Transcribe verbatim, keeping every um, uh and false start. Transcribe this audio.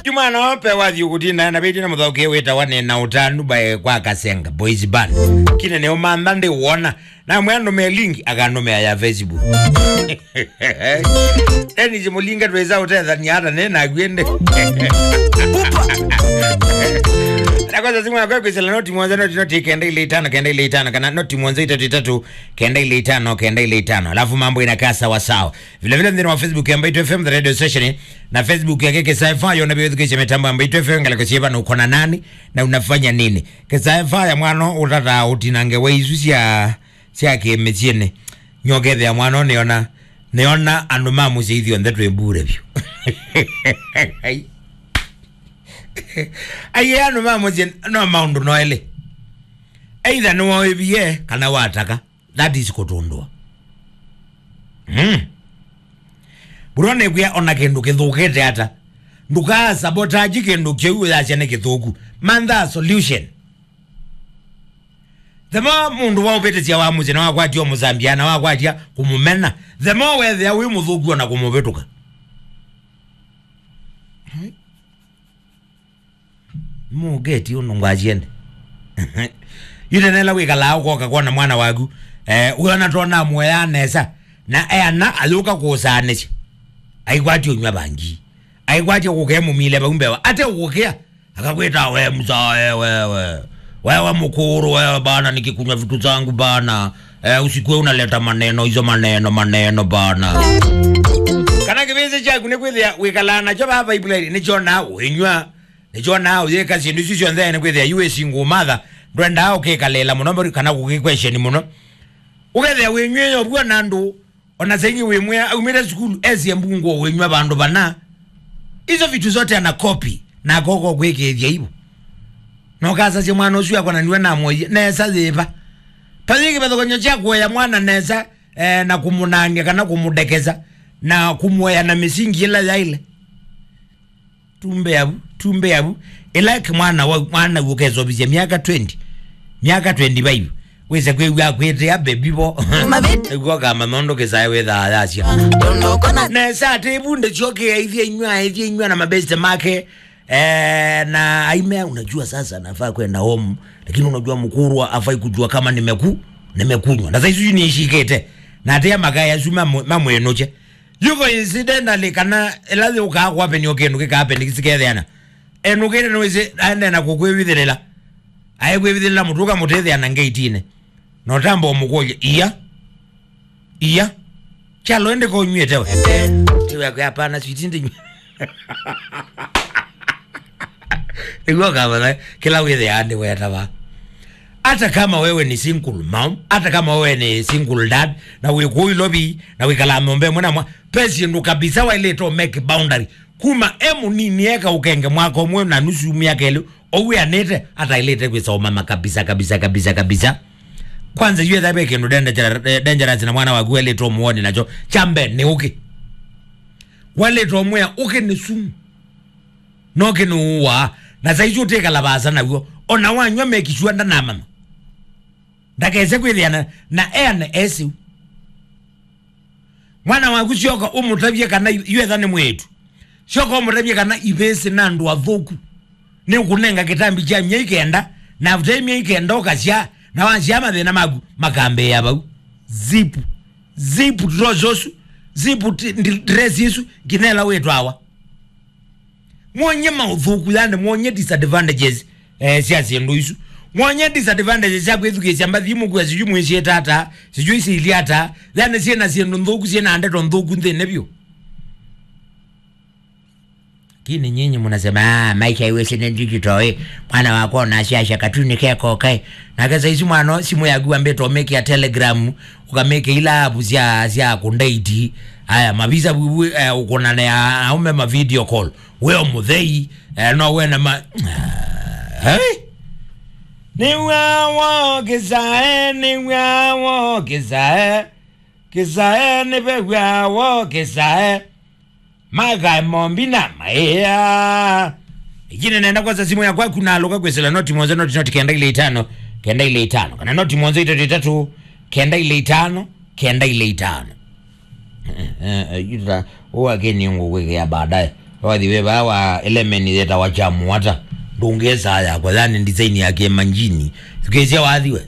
Juma no pe wathi ukutina na beti na muthoke witawa ni na utanu bae kwa Kasenga Boys Band. Kine ne umantha ndi wona. Na mwe andume link akandume ya Facebook. Eni zimulinga tweza utethania hata ne na gwende. Na kwanza simu yako kwĩsĩla noti mũonza, noti, noti kenda ile itano, kenda ile itano, kana noti mũonza itatu itatu, kenda ile itano, kenda ile itano. Alafu mambo inakaa sawa sawa. Vile vile nthĩnĩ wa Facebook ya Mbaitu F M, the radio station, na Facebook yake Kĩsae Fire, yona vĩthukĩsya mĩtambo ya Mbaitu F M, ngalĩko syĩva na ũkona nani, na unafanya nini. Kĩsae Fire mwana ũtata ũtinange wa isu sya, sya kĩmĩsyĩnĩ. Nyokethĩa mwana ũnĩona, nĩona andũ ma mũsyĩ ithyonthe twĩ mbure vyũ. Ai. Ai, andũ ma mũsyĩ no maũndũ no elĩ. Either nĩwaĩvie kana wataka. That is kũtũndũa. Mm. Bro, nĩkwĩa ona kĩndũ kĩthũkĩte ata. Ndũkaa sabotage kĩndũ kĩu ũyasya nĩ kĩthũku. Mantha solution. The more mũndũ waũvĩtĩsya wa mũsyĩ na wakwatya ũmũsambia na wakwatya kũmũmena, the more wethĩa wĩ mũthũku ona kũmũvĩtũka. Mũgeti ũnũngwa asyende. Yu tene ĩla wĩkalaa ũkoka kwona mwana waku, eh, wĩona tona mũeaa nesa, na eana ayũka kũũsaanĩsya. Aikwatya ũnyw'a vangi. Aikwatya kũkee mũmile vau mbewa. Ate ũkũkĩa, akakwĩta we mzae wewe. Wewe mkuru wewe bana, nikikunywa vitu zangu bana. Eh, usikue unaleta maneno hizo, maneno, maneno bana. Kana kĩvĩsĩ kyaku nĩ kwĩthĩa wĩkalaa nakyo vaa pipeline, nĩkyonaa ũinywa, nĩkyonaa ũyĩka syĩndũ isu syonthe, nĩ kwĩthĩa yu wĩ single mother, ndwendaa ũkĩkalĩla mũno mberi kana kũkĩkwesheni mũno. Ũkethĩa wĩnyw'ĩe ũvuo na andũ, ona saingĩ wĩmwĩa aumĩte sukulu esie mbungu wĩnywa vandũ vana. Hizo vitu zote ana copy, na koko kwĩkĩĩthya ivo. Na ũkasasya mwana ũsu akwa na niwe namwoie nesa yĩva. Pathi kĩvathũkany'o kya kũea mwana nesa, eh, na kũmũnangĩa kana kũmũdekesa na kũmũea na mĩsingi ĩla yaĩle. Tumbe avu, tumbe avu. Ĩla kĩ mwana wa, mwana ũkesovisya myaka twenty, myaka twenty-five, wĩse kwĩw'a akwĩtĩa baby vo. Mavĩtĩ. Ĩguo kama nondo kĩsae wĩthaa yasya. Nesa atĩ ĩvundĩ syoke aithye inywa, aithye inywa na mabeste make. Eh, na aime, unajua sasa nafaa kwenda home, lakini unajua mkurwa afai kujua kama nimeku-, nimekunywa. Na saizi nishikete. Na atia makaya suma mamwenoche. Yu coincidentally kana ĩla yũkaa kwapeni o kĩndũ kĩkapeni kĩsiketheana. Enũkĩte nĩwĩsĩ aendee na kũkwĩvithĩlĩla. Aĩkwĩvithĩlĩla mũtũka mũtĩthĩa na ngeitinĩ. Na ũtamba ũmũkũlya, "Iya? Iya? Kyalo ĩndĩ ko ũnyw'ĩte we?" Tiwe akwe, "Hapana, sweetie, ndinyw'a." Nĩguo kavatha kĩla wĩthĩaa nĩ wetava. Hata kama wewe ni single mom, hata kama wewe ni single dad, na wĩ kũu Ilovi, na wĩkalaa nyũmba ĩmwe na mwa, ve syĩndũ kabisa waĩlĩte ũ make boundary. Kuma e mũnini eka ũkenge mwaka ũmwe na nusu, myaka ĩlĩ, ũwĩanĩte, ataĩlĩte kwĩsa ũmama kabisa, kabisa, kabisa, kabisa. Kwanza, yu etha ve kĩndũ dangerous, dangerous na mwana waku waĩlĩte ũmũoni nakyo, kya mbee nĩ ũkĩ. Waĩlĩte ũmwĩa ũkĩ nĩ sumu. No kĩnũũaa, na saizi ũtĩkala vaasa naw'o. Ona wanywa make sure ndanamama. Ndakese kwĩthĩana na eane esĩu. Mwana waku syoka ũmũtavye kana yu etha nĩ mwĩĩtu. Syoka ũmũtavye kana ivĩsĩ na andũ athũku. Nĩ ũkũnenga kĩtambi kya myei kenda, na after myei kenda ũkasya, na wasya mathĩna maku makambĩĩa vau. Zip, zip trousers ũsu, zip ti-, ndi-, dress isu, nginya ĩla wĩtwawa. Mwonye maũthũku, yani mwonye disadvantages, eh, sya syĩndũ isu. Mwonye disadvantages sya kwĩthukĩĩsya mbathi imũkua, sijui mwĩsyĩta ata, sijui sili ata, yani syĩna syĩndũ nthũku, syĩna ndeto nthũku nthĩnĩ vyũ. Lakini nyinyi mnasema, "Ah, maisha iwe sina digital, eh. Mwana wakwa unasiasha katuni keko, okay." Nake saizi mwana, simu yaku ambĩte ũmĩkĩa Telegram, ũkamĩkĩa ila app sya, sya kũndate. Aya, mavisa vu, vu, eh, ũkũnanĩa aume ma video call. Weo mũthei, eh, no wena ma-, ah, hey? Nĩw'awo kĩsae, nĩw'awo kĩsae. Kĩsae nĩvew'awo kĩsae. Makae mombi na maĩa. Ĩkine nenda kwasa simu yakwa kunalũka kwĩsĩla noti mũonza, noti, noti kenda ile itano, kenda ile itano. Kana noti mũonza itatu itatu, kenda ile itano, kenda ile itano. Eh, eh, eh, yuta, ũwa kĩni ngũkwĩkĩa baadaye. Wathi we vaa wa element yetawa kya mũata. Ndũngĩsaa yakwa, yani design ya kĩmanjini. Thukĩĩsya wathi we.